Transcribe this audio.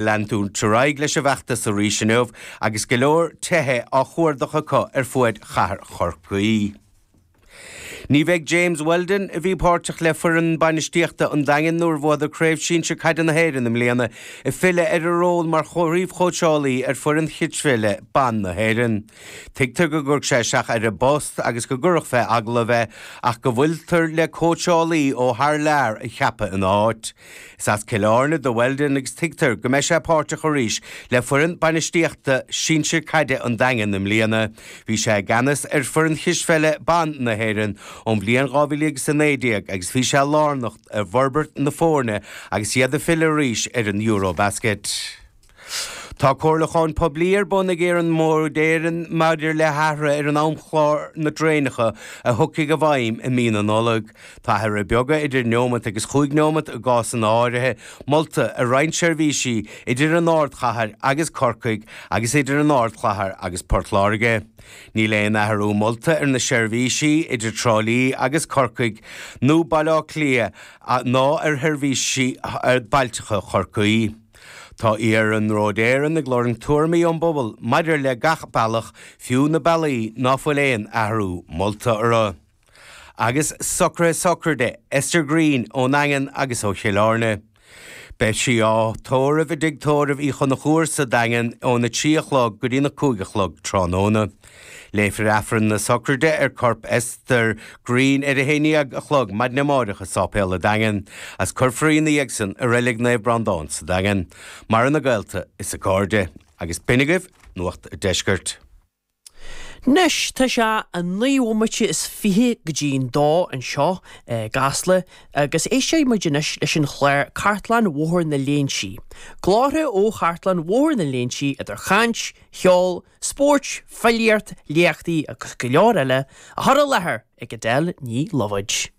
Leanúint ar aghaidh leis an bhfeachtas arís inniu agus go leor tithe á chuardach acu ar fuaid chathair Chorcaí. Ní bheidh James Weldon, a bhí páirteach le foireann bainistíochta an Daingin nuair a bhuadar Craobh Sinsir Caide na hÉireann i mbliana, ag filleadh ar a ról mar phríomhchóitseálaí ar foireann chispheile ban na hÉireann. Tuigtear go gcuirfeadh sé isteach ar an bpost agus go gcuirfeadh fé agallamh é ach go bhfuiltear le cóitseálaí ó thar lear a cheapadh ina áit. Is as Cill Airne do Weldon agus tuigtear go mbeidh sé páirteach arís le foireann bainistíochta sinsir caide an Daingin i mbliana. Bhí sé i gceannas ar foireann chispheile ban na hÉireann ón bhliain 2019 agus bhí sé lárnach i bhforbairt na foirne agus iad ag filleadh arís ar an Eurobasket. Tá comhairliúchán poiblí ar bun ag Iarnród Éireann maidir le hathruithe ar an amchlár na dtraenacha a thiocfaidh i bhfeidhm i mí na Nollag. Tá athruithe beaga idir neomat agus chúig neomat i gcásanna áirithe molta ar roinnt seirbhísí idir an ardchathair agus Corcaigh agus idir an ardchathair agus Port Láirge. Níl aon athrú molta ar na seirbhísí idir Trá Lí agus Corcaigh nó Baile Átha Cliath ná ar sheirbhísí bailteacha Chorcaí. Tá Iarnród Éireann ag lorg tuairimí ón bpobal maidir le gach bealach, fiú na bealaí ná fuil aon athrú molta orthu. Agus socruithe sochraide Esther Greene ón nDaingean agus ó Chill Airne. Beidh sí á tórramh i dTigh Tórraimh Uí Chonchúir sa Daingean óna 3 a chlog go dtína 5 a chlog tráthnóna. Léifear Aifreann na sochraide ar corp Esther Greene ar a 11 a chlog maidin amáireach i Sáipéal an Daingin, agus cuirfear í ina dhiaidh san i Reilig Naomh Breandán sa Daingean. Maireann a gaolta is a cairde. Agus b'in agaibh Nuacht an Deiscirt. Anois tá sé a 9 bhomaite is 20 go dtí'n dó anseo i gCasla agus éistfidh muid anois leis an chlár Cartlann Bhóthar na Léinsí. Glórtha ó Chartlann Bhóthar na Léinsí idir chaint, cheol, spóirt, filíocht, léachtaí agus go leor eile á chur i láthair ag Edel Ní Lobháid.